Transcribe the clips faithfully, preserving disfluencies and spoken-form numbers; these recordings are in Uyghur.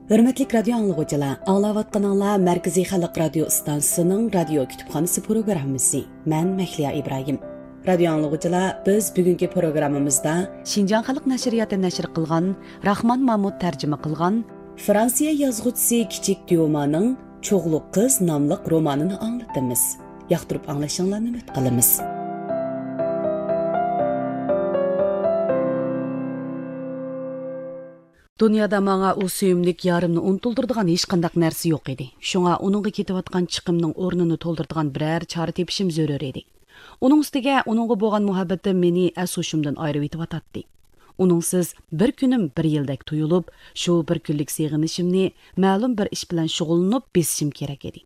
ھۆرمەتلىك رادىيو ئاڭلىغۇچىلار، ئاڭلاۋاتقىنىڭلار مەركىزىي خەلق رادىيو ئىستانسىسىنىڭ رادىيو كۇتۇپخانىسى پروگراممىسى. مەن مەھلىيا ئىبراھىم. رادىيو ئاڭلىغۇچىلار، بىز بۈگۈنكى پروگراممىمىزدا شىنجاڭ خەلق نەشرىياتى نەشر قىلغان، راخمان مامۇت تەرجىمە قىلغان، فرانسىيە يازغۇچىسى كىچىك ديومانىڭ چوغلۇق قىز ناملىق رومانىنى ئاڭلىتىمىز. ياقتۇرۇپ ئاڭلىشىڭلارنى ئۈمىد قىلىمىز. دۇنيادا ماڭا ئۇ سۆيۈملۈك يارىمنى ئۇنتۇلدۇرىدىغان ھېچقانداق نەرسە يوق ئىدى. شۇڭا ئۇنىڭغا كېتىۋاتقان چىقىمنىڭ ئورنىنى تولدۇرىدىغان بىرەر چارە تېپىشىم زۆرۈر ئىدى. ئۇنىڭ ئۈستىگە ئۇنىڭغا بولغان مۇھەببىتىم مېنى ئەس-ھوشۇمدىن ئايرىۋېتىۋاتاتتى. ئۇنىڭسىز بىر كۈنۈم بىر يىلدەك تۇيۇلۇپ، شۇ بىر كۈنلۈك سېغىنىشىمنى مەلۇم بىر ئىش بىلەن شۇغۇللىنىپ بېسىشىم كېرەك ئىدى.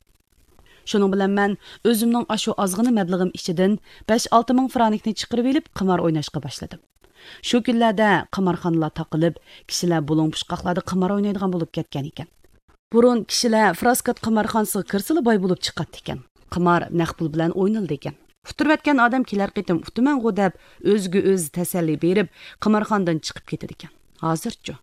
شۇنىڭ بىلەن مەن ئۆزۈمنىڭ ئاشۇ ئازغىنە مەبلىغىم ئىچىدىن بەش-ئالتە مىڭ فرانكنى چىقىرىۋېلىپ قىمار ئويناشقا باشلىدىم. شۇ كۈنلەردە قىمارخانىلار تاقىلىپ، كىشىلەر بۇلۇڭ-پۇچقاقلاردا قىمار ئوينايدىغان بولۇپ كەتكەن ئىكەن. بۇرۇن كىشىلەر فراسكات قىمارخانىسىغا كىرسىلا باي بولۇپ چىقاتتىكەن. قىمار نەق پۇل بىلەن ئوينىلىدىكەن. ئۇتتۇرۇۋەتكەن ئادەم كېلەر قېتىم ئۇتىمەنغۇ دەپ ئۆزىگە ئۆزى تەسەللى بېرىپ، قىمارخانىدىن چىقىپ كېتىدىكەن. ھازىرچۇ؟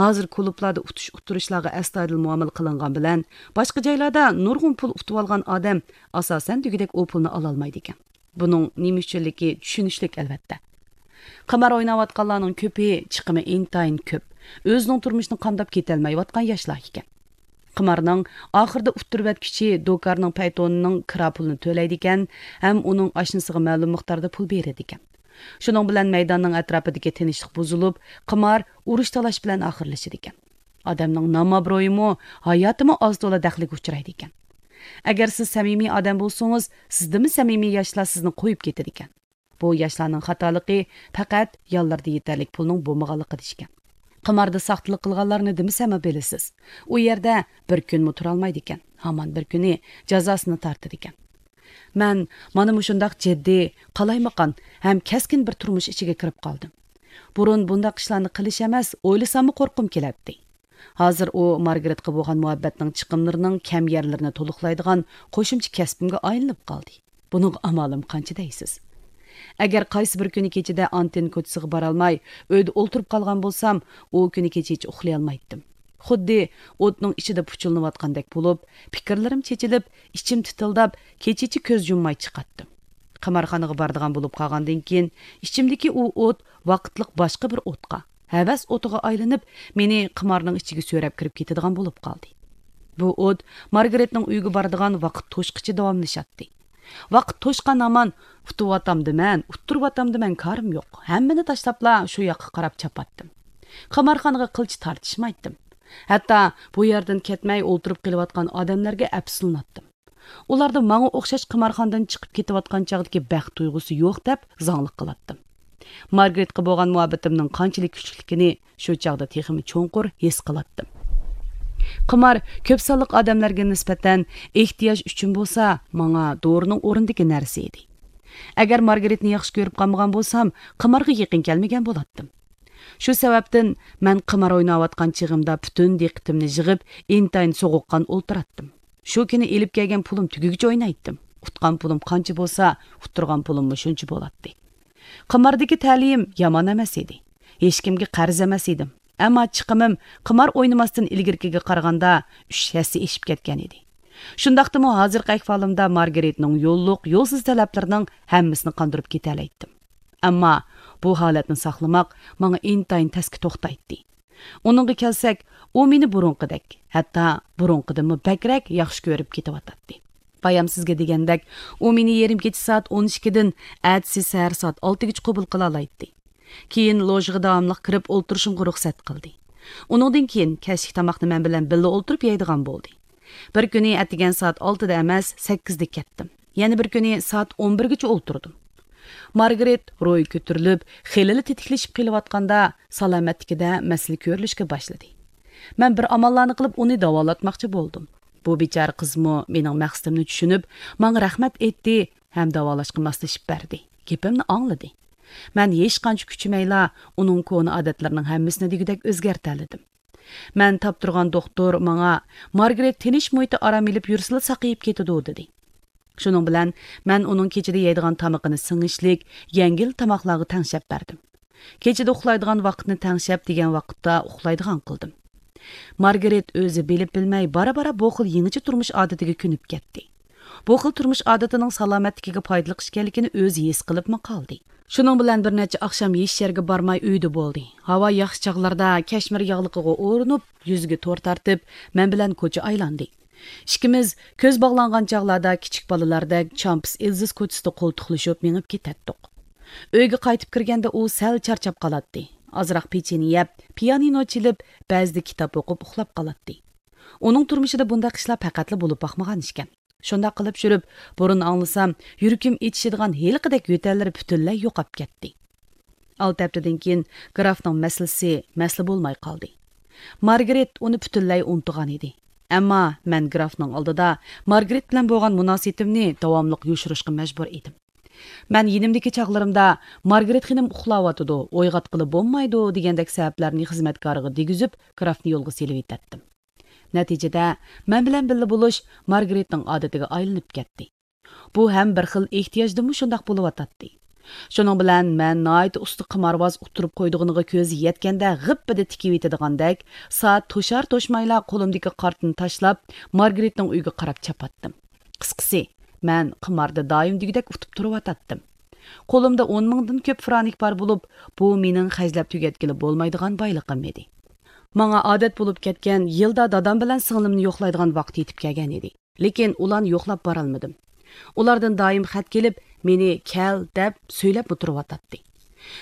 ھازىر كۇلۇبلاردا ئۇتۇش-ئۇتتۇرۇشلارغا ئەستايىدىل مۇئامىلە قىلىنغان بىلەن، باشقا جايلاردا نۇرغۇن پۇل ئۇتۇۋالغان ئادەم ئاساسەن دېگۈدەك ئۇ پۇلنى ئالالمايدىكەن. بۇنىڭ نېمە ئۈچۈنلۈكى چۈشىنىشلىك، ئەلۋەتتە. قىمار ئويناۋاتقانلارنىڭ كۆپى چىقىمى ئىنتايىن كۆپ، ئۆزىنىڭ تۇرمۇشىنى قامداپ كېتەلمەيۋاتقان ياشلار ئىكەن. قىمارنىڭ ئاخىرىدا ئۇتتۇرۇۋەتكۈچى دوكاننىڭ پەيتونىنىڭ كىرا پۇلىنى تۆلەيدىكەن ھەم ئۇنىڭ ئاشنىسىغا مەلۇم مىقداردا پۇل بېرىدىكەن. شۇنىڭ بىلەن مەيداننىڭ ئەتراپىدىكى تىنچلىق بۇزۇلۇپ، قىمار ئۇرۇش-تالاش بىلەن ئاخىرلىشىدىكەن. ئادەمنىڭ نام-ئابرۇيىمۇ، ھاياتىمۇ ئاز-تولا دەخلىگە ئۇچرايدىكەن. ئەگەر سىز سەمىمىي ئادەم بولسىڭىز، سىزدىنمۇ سەمىمىي ياشلار سىزنى قويۇپ كېتىدىكەن. بۇ ياشلارنىڭ خاتالىقى پەقەت يانلىرىدا يېتەرلىك پۇلنىڭ بولمىغانلىقىدا ئىكەن. قىماردا ساختىلىق قىلغانلارنى دېمىسەممۇ بىلىسىز. ئۇ يەردە بىر كۈنمۇ تۇرالمايدىكەن. ھامان بىر كۈنى جازاسىنى تارتىدىكەن. مەن مانا مۇشۇنداق جىددىي، قالايمىقان ھەم كەسكىن بىر تۇرمۇش ئىچىگە كىرىپ قالدىم. بۇرۇن بۇنداق ئىشلارنى قىلىش ئەمەس، ئويلىساممۇ قورققۇم كېلەتتى. ھازىر ئۇ مارگرېتقا بولغان مۇھەببەتنىڭ چىقىملىرىنىڭ كەم يەرلىرىنى تولۇقلايدىغان قوشۇمچە كەسپىمگە ئايلىنىپ قالدى. بۇنىڭغا ئامالىم قانچە دەيسىز؟ ئەگەر قايسى بىر كۈنى كېچىدە ئانتېن كوچىسىغا بارالماي، ئۆيدە ئولتۇرۇپ قالغان بولسام، ئۇ كۈنى كېچىچە ئۇخلىيالمايتتىم. خۇددى ئوتنىڭ ئىچىدە پۇچۇلىنىۋاتقاندەك بولۇپ، پىكىرلىرىم چېچىلىپ، ئىچىم تىتىلداپ، كېچىچە كۆز يۇمماي چىقاتتىم. قىمارخانىغا بارىدىغان بولۇپ قالغاندىن كېيىن، ئىچىمدىكى ئۇ ئوت ۋاقىتلىق باشقا بىر ئوتقا، ھەۋەس ئوتىغا ئايلىنىپ، مېنى قىمارنىڭ ئىچىگە سۆرەپ كىرىپ كېتىدىغان بولۇپ قالدى. بۇ ئوت مارگرېتنىڭ ئۆيىگە بارىدىغان ۋاقىت توشقىچە داۋاملىشاتتى. ۋاقىت توشقان ھامان، ئۇتۇۋاتامدىمەن، ئۇتتۇرۇۋاتامدىمەن، كارىم يوق. ھەممىنى تاشلاپلا شۇ ياققا قاراپ چاپاتتىم. قىمارخانىغا قىلچە تارتىشمايتتىم. ھەتتا بۇ يەردىن كەتمەي ئولتۇرۇپ قېلىۋاتقان ئادەملەرگە ئەپسۇسلىناتتىم. ئۇلاردا ماڭا ئوخشاش قىمارخانىدىن چىقىپ كېتىۋاتقان چاغدىكى بەخت تۇيغۇسى يوق دەپ زاڭلىق قىلاتتىم. مارگرېتقا بولغان مۇھەببىتىمنىڭ قانچىلىك كۈچلۈكلۈكىنى شۇ چاغدا تېخىمۇ چوڭقۇر ھېس قىلاتتىم. قىمار كۆپ سانلىق ئادەملەرگە نىسبەتەن ئېھتىياج ئۈچۈن بولسا، ماڭا دورىنىڭ ئورنىدىكى نەرسە ئىدى. ئەگەر مارگرېتنى ياخشى كۆرۈپ قالمىغان بولسام، قىمارغا يېقىن كەلمىگەن بولاتتىم. شۇ سەۋەبتىن مەن قىمار ئويناۋاتقان چېغىمدا پۈتۈن دىققىتىمنى يىغىپ، ئىنتايىن سوغۇققان ئولتۇراتتىم. شۇ كۈنى ئېلىپ كەلگەن پۇلۇم تۈگىگىچە ئوينايتتىم. ئۇتقان پۇلۇم قانچە بولسا، ئۇتتۇرغان پۇلۇممۇ شۇنچە بولاتتى. قىماردىكى تەلىيىم يامان ئەمەس ئىدى. ھېچكىمگە قەرز ئەمەس ئىدىم. ئەمما چىقىمىم قىمار ئوينىماستىن ئىلگىرىكىگە قارىغاندا ئۈچ ھەسسە ئېشىپ كەتكەن ئىدى. شۇنداقتىمۇ ھازىرقى ئەھۋالىمدا مارگرېتنىڭ يوللۇق، يولسىز تەلەپلىرىنىڭ ھەممىسىنى قاندۇرۇپ كېتەلەيتتىم. ئەمما بۇ ھالەتنى ساقلىماق ماڭا ئىنتايىن تەسكە توختايتتى. ئۇنىڭغا كەلسەك، ئۇ مېنى بۇرۇنقىدەك، ھەتتا بۇرۇنقىدىنمۇ بەكرەك ياخشى كۆرۈپ كېتىۋاتاتتى. بايام سىزگە دېگەندەك، ئۇ مېنى يېرىم كېچە سائەت ئون ئىككىدىن ئەتىسى سەھەر سائەت ئالتىگىچە قوبۇل قىلالايتتى. كېيىن لوژغا داۋاملىق كىرىپ ئولتۇرۇشۇمغا رۇخسەت قىلدى. ئۇنىڭدىن كېيىن كەچلىك تاماقنى مەن بىلەن بىللە ئولتۇرۇپ يەيدىغان بولدى. بىر كۈنى ئەتىگەن سائەت ئالتىدا ئەمەس، سەككىزدە كەتتىم. يەنە بىر كۈنى سائەت ئون بىرگىچە ئولتۇردۇم. مارگرېت روھى كۆتۈرۈلۈپ، خېلىلا تېتىكلىشىپ قېلىۋاتقاندا، سالامەتلىكىدە مەسىلە كۆرۈلۈشكە باشلىدى. مەن بىر ئاماللارنى قىلىپ ئۇنى داۋالاتماقچى بولدۇم. بۇ بىچارە قىزمۇ مېنىڭ مەقسىتىمنى چۈشىنىپ، ماڭا رەھمەت ئېيتتى ھەم داۋالاشقا ماسلىشىپ بەردى. گېپىمنى ئاڭلىدى. مەن ھېچقانچە كۈچىمەيلا ئۇنىڭ كونا ئادەتلىرىنىڭ ھەممىسىنى دېگۈدەك ئۆزگەرتەلىدىم. مەن تاپتۇرغان دوختۇر ماڭا، مارگرېت تىنچ مۇھىتتا ئارام ئېلىپ يۈرسىلا ساقىيىپ كېتىدۇ، دېدى. شۇنىڭ بىلەن مەن ئۇنىڭ كېچىدە يەيدىغان تامىقىنى سىڭىشلىك، يەڭگىل تاماقلارغا تەڭشەپ بەردىم. كېچىدە ئۇخلايدىغان ۋاقىتنى تەڭشەپ دېگەن ۋاقىتتا ئۇخلايدىغان قىلدىم. مارگرېت ئۆزى بىلىپ بىلمەي بارا-بارا بۇ خىل يېڭىچە تۇرمۇش ئادىتىگە كۆنۈپ كەتتى. بۇ خىل تۇرمۇش ئادىتىنىڭ سالامەتلىكىگە پايدىلىق ئىكەنلىكىنى ئۆزى ھېس قىلىپمۇ قالدى. شۇنىڭ بىلەن بىر نەچچە ئاخشام ھېچ يەرگە بارماي ئۆيدە بولدى. ھاۋا ياخشى چاغلاردا كەشمىر ياغلىقىغا ئورىنىپ، يۈزىگە تور تارتىپ، مەن بىلەن كوچا ئايلاندى. ئىككىمىز كۆز باغلانغان چاغلاردا كىچىك بالىلاردەك چامپىس ئېلزىز كوچىسىدا قولتۇقلىشىپ مېڭىپ كېتەتتۇق. ئۆيگە قايتىپ كىرگەندە ئۇ سەل چارچاپ قالاتتى. ئازراق پېچىنە يەپ، پىيانىنو چېلىپ، بەزىدە كىتاب ئوقۇپ ئۇخلاپ قالاتتى. ئۇنىڭ تۇرمۇشىدا بۇنداق ئىشلار پەقەتلا بولۇپ باقمىغان ئىكەن. شۇنداق قىلىپ يۈرۈپ، بۇرۇن ئاڭلىسام يۈرىكىم ئېچىشىدىغان ھېلىقىدەك يۆتەللىرى پۈتۈنلەي يوقاپ كەتتى. ئالتە ھەپتىدىن كېيىن گرافنىڭ مەسىلىسى مەسىلە بولماي قالدى. مارگرېت ئۇنى پۈتۈنلەي ئۇنتۇغان ئىدى. ئەمما مەن گرافنىڭ ئالدىدا مارگرېت بىلەن بولغان مۇناسىۋىتىمنى داۋاملىق يوشۇرۇشقا مەجبۇر ئىدىم. مەن يېنىمدىكى چاغلىرىمدا، «مارگرېت خېنىم ئۇخلاۋاتىدۇ، ئويغاتقىلى بولمايدۇ» دېگەندەك سەۋەبلەرنى خىزمەتكارىغا دېگۈزۈپ، گرافنى يولغا سېلىۋېتەتتىم. نەتىجىدە، مەن بىلەن بىللە بولۇش مارگرېتنىڭ ئادىتىگە ئايلىنىپ كەتتى. بۇ ھەم بىر خىل ئېھتىياجدىنمۇ شۇنداق بولۇۋاتاتتى. شۇنىڭ بىلەن مەن ناھايىتى ئۇستا قىمارۋاز ئۇتتۇرۇپ قويىدىغىنىغا كۆزى يەتكەندە غىپپىدە تىكىۋېتىدىغاندەك، سائەت توشار-توشمايلا قولۇمدىكى قارتنى تاشلاپ، مارگرېتنىڭ ئۆيىگە قاراپ چاپاتتىم. قىسقىسى، مەن قىماردا دائىم دېگۈدەك ئۇتۇپ تۇرۇۋاتاتتىم. قولۇمدا ئون مىڭدىن كۆپ فرانك بار بولۇپ، بۇ مېنىڭ خەجلەپ تۈگەتكىلى بولمايدىغان بايلىقىم ئىدى. ماڭا ئادەت بولۇپ كەتكەن يىلدا دادام بىلەن سىڭلىمنى يوقلايدىغان ۋاقىت يېتىپ كەلگەن ئىدى. لېكىن ئۇلارنى يوقلاپ بارالمىدىم. ئۇلاردىن دائىم خەت كېلىپ، مېنى كەل دەپ سۆيلەپمۇ تۇرۇۋاتاتتى.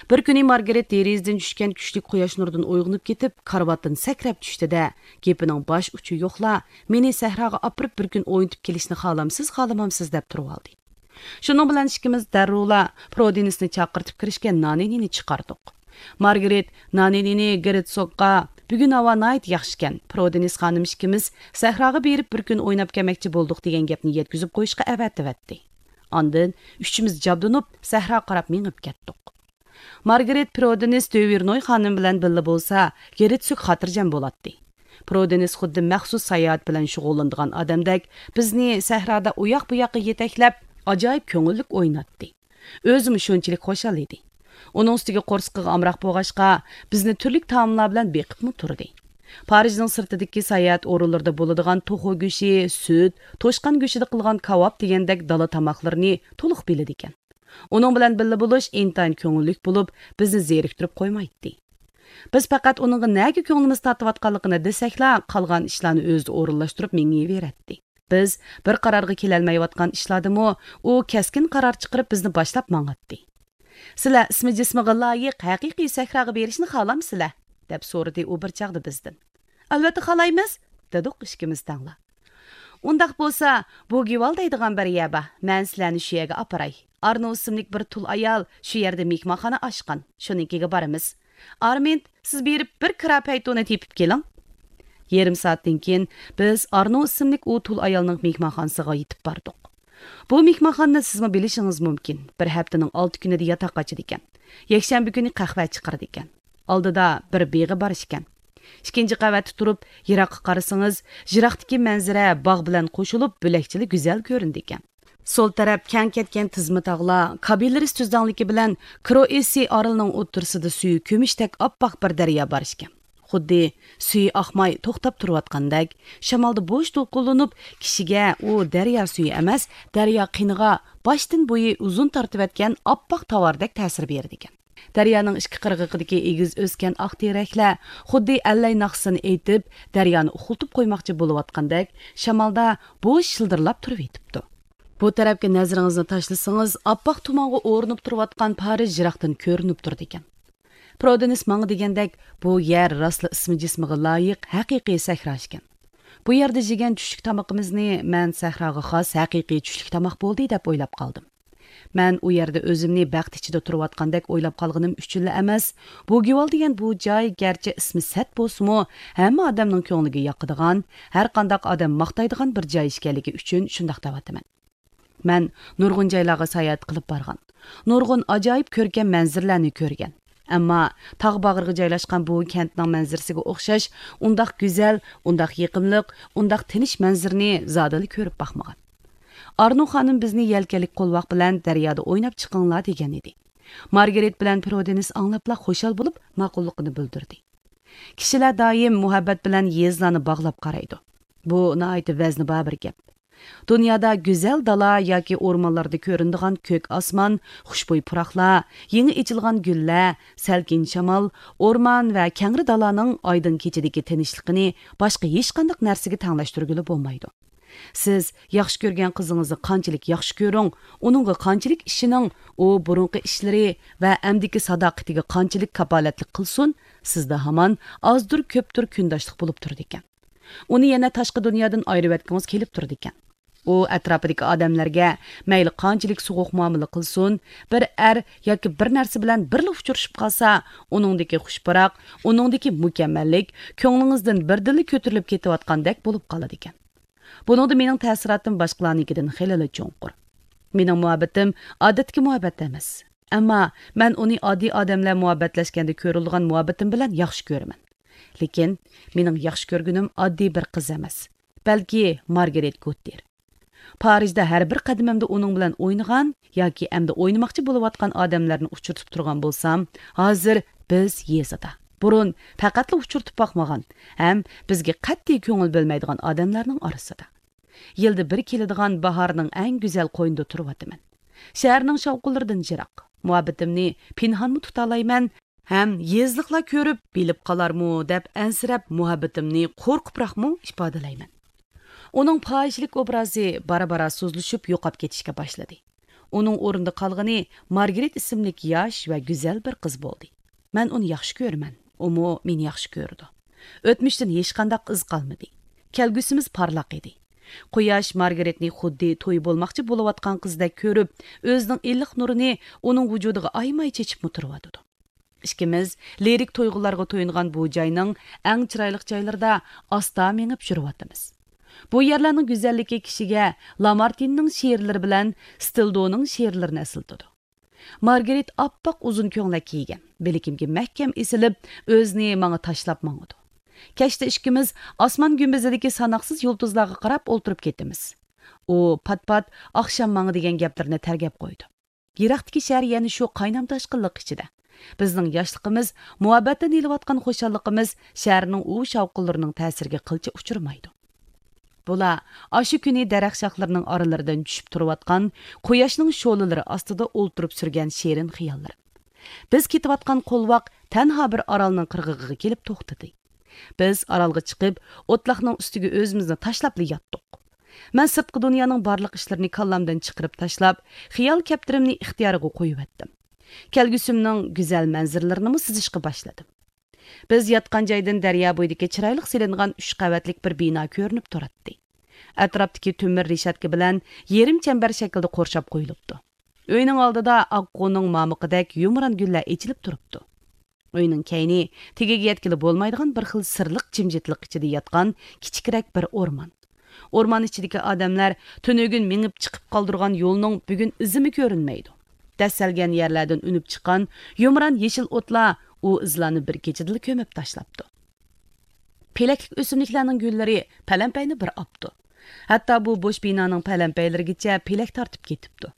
بىر كۈنى مارگرېت دېرىزىدىن چۈشكەن كۈچلۈك قۇياش نۇرىدىن ئويغىنىپ كېتىپ، كارىۋاتتىن سەكرەپ چۈشتى-دە، گېپىنىڭ باش ئۇچى يوقلا، «مېنى سەھراغا ئاپىرىپ بىر كۈن ئوينىتىپ كېلىشنى خالامسىز، خالىمامسىز؟» دەپ تۇرۇۋالدى. شۇنىڭ بىلەن ئىككىمىز دەررۇلا پرودېنىسنى چاقىرتىپ كىرىشكە نانىنىنى چىقاردۇق. مارگرېت نانىنىنى گېرتسوگقا، «بۈگۈن ھاۋا ناھايىتى ياخشىكەن، پرودېنىس خانىم ئىككىمىز سەھراغا بېرىپ بىر كۈن ئويناپ كەلمەكچى بولدۇق» دېگەن گەپنى يەتكۈزۈپ قويۇشقا ئەۋەتىۋەتتى. ئاندىن ئۈچىمىز جابدۇنۇپ سەھراغا قاراپ مېڭىپ كەتتۇق. مارگرېت پرودېنىس دۆۋېرنوي خانىم بىلەن بىللە بولسا، گېرتسوگ خاتىرجەم بولاتتى. پرودېنىس خۇددى مەخسۇس ساياھەت بىلەن شۇغۇللىنىدىغان ئادەمدەك بىزنى سەھرادا ئۇياق-بۇياققا يېتەكلەپ، ئاجايىپ كۆڭۈللۈك ئويناتتى. ئۆزىمۇ شۇنچىلىك خۇشال ئىدى. ئۇنىڭ ئۈستىگە قورسىقىغا ئامراق بولغاچقا، بىزنى تۈرلۈك تائاملار بىلەن بېقىپمۇ تۇردى. پارىژنىڭ سىرتىدىكى ساياھەت ئورۇنلىرىدا بولىدىغان توخۇ گۆشى، سۈت، توشقان گۆشىدە قىلغان كاۋاپ دېگەندەك دالا تاماقلىرىنى تولۇق بىلىدىكەن. ئۇنىڭ بىلەن بىللە بولۇش ئىنتايىن كۆڭۈللۈك بولۇپ، بىزنى زېرىكتۈرۈپ قويمايتتى. بىز پەقەت ئۇنىڭغا نەگە كۆڭلىمىز تارتىۋاتقانلىقىنى دېسەكلا، قالغان ئىشلارنى ئۆزى ئورۇنلاشتۇرۇپ مېڭىۋېرەتتى. بىز بىر قارارغا كېلەلمەيۋاتقان ئىشلاردىمۇ ئۇ كەسكىن قارار چىقىرىپ بىزنى باشلاپ ماڭاتتى. «سىلەر ئىسمى جىسمىغا لايىق ھەقىقىي سەھراغا بېرىشنى خالامسىلەر؟» دەپ سورىدى ئۇ بىر چاغدا بىزدىن. «ئەلۋەتتە خالايمىز!» دېدۇق ئىككىمىز تەڭلا. «ئۇنداق بولسا، بۇگىۋال دەيدىغان بىر يەر بار. مەن سىلەرنى شۇ يەرگە ئاپىراي. ئارنو ئىسىملىك بىر تۇل ئايال شۇ يەردە مېھمانخانا ئاچقان. شۇنىڭكىگە بارىمىز. ئارمىند، سىز بېرىپ بىر كىرا پەيتۇنى تېپىپ كېلىڭ.» يېرىم سائەتتىن كېيىن بىز ئارنو ئىسىملىك ئۇ تۇل ئايالنىڭ مېھمانخانىسىغا يېتىپ باردۇق. بۇ مېھمانخانىنى سىزمۇ بىلىشىڭىز مۇمكىن. بىر ھەپتىنىڭ ئالتە كۈنىدە ياتاق ئاچىدىكەن. يەكشەنبە كۈنى قەھۋە چىقىرىدىكەن. ئالدىدا بىر بېغى بار ئىكەن. ئىككىنچى قەۋەتتە تۇرۇپ، يىراققا قارىسىڭىز، يىراقتىكى مەنزىرە باغ بىلەن قوشۇلۇپ، بۆلەكچىلا گۈزەل كۆرۈنىدىكەن. سول تەرەپ كەڭ كەتكەن تىزما تاغلار، كابىلىرىس تۈزلەڭلىكى بىلەن كروئېسسى ئارىلىنىڭ ئوتتۇرىسىدا سۈيى كۈمۈشتەك ئاپئاق بىر دەريا بار ئىكەن. خۇددى سۈيى ئاقماي توختاپ تۇرۇۋاتقاندەك، شامالدا بوش دولقۇنلىنىپ، كىشىگە ئۇ دەريا سۈيى ئەمەس، دەريا قېنىغا باشتىن بويى ئۇزۇن تارتىۋەتكەن ئاپئاق تاۋاردەك تەسىر بېرىدىكەن. دەريانىڭ ئىككى قىرغىقىدىكى ئېگىز ئۆسكەن ئاق تېرەكلەر خۇددى ئەللەي ناخشىسىنى ئېيتىپ، دەريانى ئۇخلىتىپ قويماقچى بولۇۋاتقاندەك، شامالدا بوش شىلدىرلاپ تۇرۇۋېتىپتۇ. بۇ تەرەپكە نەزىرىڭىزنى تاشلىسىڭىز، ئاپئاق تۇمانغا ئورىنىپ تۇرۇۋاتقان پارىژ يىراقتىن كۆرۈنۈپ تۇرىدىكەن. پرودېنىس ماڭا دېگەندەك، بۇ يەر راستلا ئىسمى جىسمىغا لايىق ھەقىقىي سەھرا ئىكەن. بۇ يەردە يېگەن چۈشلۈك تامىقىمىزنى مەن سەھراغا خاس ھەقىقىي چۈشلۈك تاماق بولدى دەپ ئويلاپ قالدىم. مەن ئۇ يەردە ئۆزۈمنى بەخت ئىچىدە تۇرۇۋاتقاندەك ئويلاپ قالغىنىم ئۈچۈنلا ئەمەس، بۇگىۋال دېگەن بۇ جاي گەرچە ئىسمى سەت بولسىمۇ، ھەممە ئادەمنىڭ كۆڭلىگە ياقىدىغان، ھەرقانداق ئادەم ماختايدىغان بىر جاي ئىكەنلىكى ئۈچۈن شۇنداق دەۋاتىمەن. مەن نۇرغۇن جايلارغا ساياھەت قىلىپ بارغان. نۇرغۇن ئاجايىپ كۆركەم مەنزىرىلەرنى كۆرگەن. ئەمما تاغ باغرىغا جايلاشقان بۇ كەنتنىڭ مەنزىرىسىگە ئوخشاش ئۇنداق گۈزەل، ئۇنداق يېقىملىق، ئۇنداق تىنچ مەنزىرىنى زادىلا كۆرۈپ باقمىغان. ئارنو خانىم بىزنى يەلكەنلىك قولۋاق بىلەن دەريادا ئويناپ چىقىڭلار دېگەن ئىدى. مارگرېت بىلەن پرودېنىس ئاڭلاپلا خۇشال بولۇپ، ماقۇللۇقىنى بىلدۈردى. كىشىلەر دائىم مۇھەببەت بىلەن يېزىلارنى باغلاپ قارايدۇ. بۇ ناھايىتى ۋەزنى بار بىر گەپ. دۇنيادا گۈزەل دالا ياكى ئورمانلاردا كۆرۈنىدىغان كۆك ئاسمان، خۇشبۇي پۇراقلار، يېڭى ئېچىلغان گۈللەر، سەلكىن شامال، ئورمان ۋە كەڭرى دالانىڭ ئايدىڭ كېچىدىكى تىنچلىقىنى باشقا ھېچقانداق نەرسىگە تەڭلەشتۈرگىلى بولمايدۇ. سىز ياخشى كۆرگەن قىزىڭىزنى قانچىلىك ياخشى كۆرۈڭ، ئۇنىڭغا قانچىلىك ئىشىنىڭ، ئۇ بۇرۇنقى ئىشلىرى ۋە ئەمدىكى ساداقىتىگە قانچىلىك كاپالەتلىك قىلسۇن، سىزدە ھامان ئازدۇر كۆپتۇر كۈنداشلىق بولۇپ تۇرىدىكەن. ئۇنى يەنە تاشقى دۇنيادىن ئايرىۋەتكۈڭىز كېلىپ تۇرىدىكەن. ئۇ ئەتراپىدىكى ئادەملەرگە مەيلى قانچىلىك سوغۇق مۇئامىلە قىلسۇن، بىر ئەر ياكى بىر نەرسە بىلەن بىرلا ئۇچرىشىپ قالسا، ئۇنىڭدىكى خۇش پۇراق، ئۇنىڭدىكى مۇكەممەللىك كۆڭلىڭىزدىن بىردىنلا كۆتۈرۈلۈپ كېتىۋاتقاندەك بولۇپ قالىدىكەن. بۇنىڭدا مېنىڭ تەسىراتىم باشقىلارنىڭكىدىن خېلىلا چوڭقۇر. مېنىڭ مۇھەببىتىم ئادەتتىكى مۇھەببەت ئەمەس. ئەمما مەن ئۇنى ئاددىي ئادەملەر مۇھەببەتلەشكەندە كۆرۈلىدىغان مۇھەببىتىم بىلەن ياخشى كۆرىمەن. لېكىن مېنىڭ ياخشى كۆرگىنىم ئاددىي بىر قىز ئەمەس، بەلكى مارگارېت گوتتېر. پارىژدا ھەر بىر قەدىمىمدە ئۇنىڭ بىلەن ئوينىغان ياكى ئەمدى ئوينىماقچى بولۇۋاتقان ئادەملەرنى ئۇچرىتىپ تۇرغان بولسام، ھازىر بىز يېزىدا، بۇرۇن پەقەتلا ئۇچرىتىپ باقمىغان ھەم بىزگە قەتئىي كۆڭۈل بۆلمەيدىغان ئادەملەرنىڭ ئارىسىدا. يىلدا بىر كېلىدىغان باھارنىڭ ئەڭ گۈزەل قوينىدا تۇرۇۋاتىمەن. شەھەرنىڭ شاۋقۇنلىرىدىن يىراق، مۇھەببىتىمنى پىنھانمۇ تۇتالايمەن ھەم يېزىلىقلار كۆرۈپ بىلىپ قالارمۇ دەپ ئەنسىرەپ، مۇھەببىتىمنى قورقۇپراقمۇ ئىپادىلەيمەن. ئۇنىڭ پاھىشىلىك ئوبرازى بارا-بارا سۇسلىشىپ يوقاپ كېتىشكە باشلىدى. ئۇنىڭ ئورنىدا قالغىنى مارگرېت ئىسىملىك ياش ۋە گۈزەل بىر قىز بولدى. مەن ئۇنى ياخشى كۆرىمەن، ئۇمۇ مېنى ياخشى كۆرىدۇ. ئۆتمۈشتىن ھېچقانداق ئىز قالمىدى. كەلگۈسىمىز پارلاق ئىدى. قۇياش مارگرېتنى خۇددى تويى بولماقچى بولۇۋاتقان قىزدەك كۆرۈپ، ئۆزىنىڭ ئىللىق نۇرىنى ئۇنىڭ ۋۇجۇدىغا ئايىماي چېچىپمۇ تۇرۇۋاتىدۇ. ئىككىمىز لىرىك تۇيغۇلارغا تويۇنغان بۇ جاينىڭ ئەڭ چىرايلىق جايلىرىدا ئاستا مېڭىپ يۈرۈۋاتىمىز. بۇ يەرلەرنىڭ گۈزەللىكى كىشىگە لامارتىننىڭ شېئىرلىرى بىلەن ستىلدونىڭ شېئىرلىرىنى ئەسلىتىدۇ. مارگرېت ئاپئاق ئۇزۇن كۆڭلەك كىيگەن، بىلىكىمگە مەھكەم ئېسىلىپ، ئۆزىنى ماڭا تاشلاپ ماڭىدۇ. كەچتە ئىككىمىز ئاسمان گۈمبىزىدىكى ساناقسىز يۇلتۇزلارغا قاراپ ئولتۇرۇپ كېتىمىز. ئۇ پات-پات ئاخشام ماڭا دېگەن گەپلىرىنى تەرگەپ قويىدۇ. يىراقتىكى شەھەر يەنە شۇ قاينام-تاشقىنلىق ئىچىدە. بىزنىڭ ياشلىقىمىز، مۇھەببەتتىن ئېلىۋاتقان خۇشاللىقىمىز شەھەرنىڭ ئۇ شاۋقۇنلىرىنىڭ تەسىرىگە قىلچە ئۇچرىمايدۇ. بۇلار ئاشۇ كۈنى دەرەخ شاخلىرىنىڭ ئارىلىرىدىن چۈشۈپ تۇرۇۋاتقان قۇياشنىڭ شولىلىرى ئاستىدا ئولتۇرۇپ سۈرگەن شېرىن خىياللىرىم. بىز كېتىۋاتقان قولۋاق تەنھا بىر ئارالنىڭ قىرغىقىغا كېلىپ توختىدى. بىز ئارالغا چىقىپ، ئوتلاقنىڭ ئۈستىگە ئۆزىمىزنى تاشلاپلا ياتتۇق. مەن سىرتقى دۇنيانىڭ بارلىق ئىشلىرىنى كاللامدىن چىقىرىپ تاشلاپ، خىيال كەپتىرىمنى ئىختىيارىغا قويۇۋەتتىم. كەلگۈسىمنىڭ گۈزەل مەنزىرىلىرىنىمۇ سىزىشقا باشلىدىم. بىز ياتقان جايدىن دەريا بويىدىكى چىرايلىق سېلىنغان ئۈچ قەۋەتلىك بىر بىنا كۆرۈنۈپ تۇراتتى. ئەتراپتىكى تۆمۈر رېشاتكا بىلەن يېرىم چەمبەر شەكىلدە قورشاپ قويۇلۇپتۇ. ئۆينىڭ ئالدىدا ئاققۇنىڭ مامىقىدەك يۇمران گۈللەر ئېچىلىپ تۇرۇپتۇ. ئۆينىڭ كەينى تېگىگە يەتكىلى بولمايدىغان بىر خىل سىرلىق جىمجىتلىق ئىچىدە ياتقان كىچىكرەك بىر ئورمان. ئورمان ئىچىدىكى ئادەملەر تۈنۈگۈن مېڭىپ چىقىپ قالدۇرغان يولنىڭ بۈگۈن ئىزىمۇ كۆرۈنمەيدۇ. دەسسەلگەن يەرلەردىن ئۈنۈپ چىققان يۇمران يېشىل ئوتلار ئۇ ئىزلارنى بىر كېچىدىلا كۆمۈپ تاشلاپتۇ. پېلەكلىك ئۆسۈملۈكلەرنىڭ گۈللىرى پەلەمپەينى بىر ئاپتۇ. ھەتتا بۇ بوش بىنانىڭ پەلەمپەيلىرىگىچە پېلەك تارتىپ كېتىپتۇ.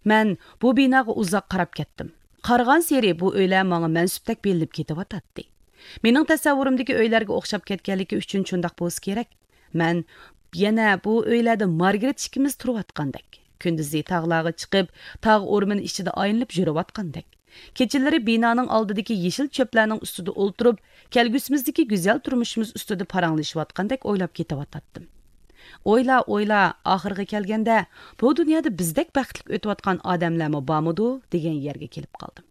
مەن بۇ بىناغا ئۇزاق قاراپ كەتتىم. قارىغانسېرى بۇ ئۆيلەر ماڭا مەنسۇپتەك بىلىنىپ كېتىۋاتاتتى. مېنىڭ تەسەۋۋۇرۇمدىكى ئۆيلەرگە ئوخشاپ كەتكەنلىكى ئۈچۈن شۇنداق بولسا كېرەك. مەن يەنە بۇ ئۆيلەردە مارگرېت ئىككىمىز تۇرۇۋاتقاندەك، كۈندۈزى تاغلارغا چىقىپ، تاغ ئورمىنى ئىچىدە ئايلىنىپ يۈرۈۋاتقاندەك، كېچىلىرى بىنانىڭ ئالدىدىكى يېشىل چۆپلەرنىڭ ئۈستىدە ئولتۇرۇپ، كەلگۈسىمىزدىكى گۈزەل تۇرمۇشىمىز ئۈستىدە پاراڭلىشىۋاتقاندەك ئويلاپ كېتىۋاتاتتىم. ئويلا، ئويلا، ئاخىرىغا كەلگەندە، بۇ دۇنيادا بىزدەك بەختلىك ئۆتۈۋاتقان ئادەملەرمۇ بارمىدۇ دېگەن يەرگە كېلىپ قالدىم.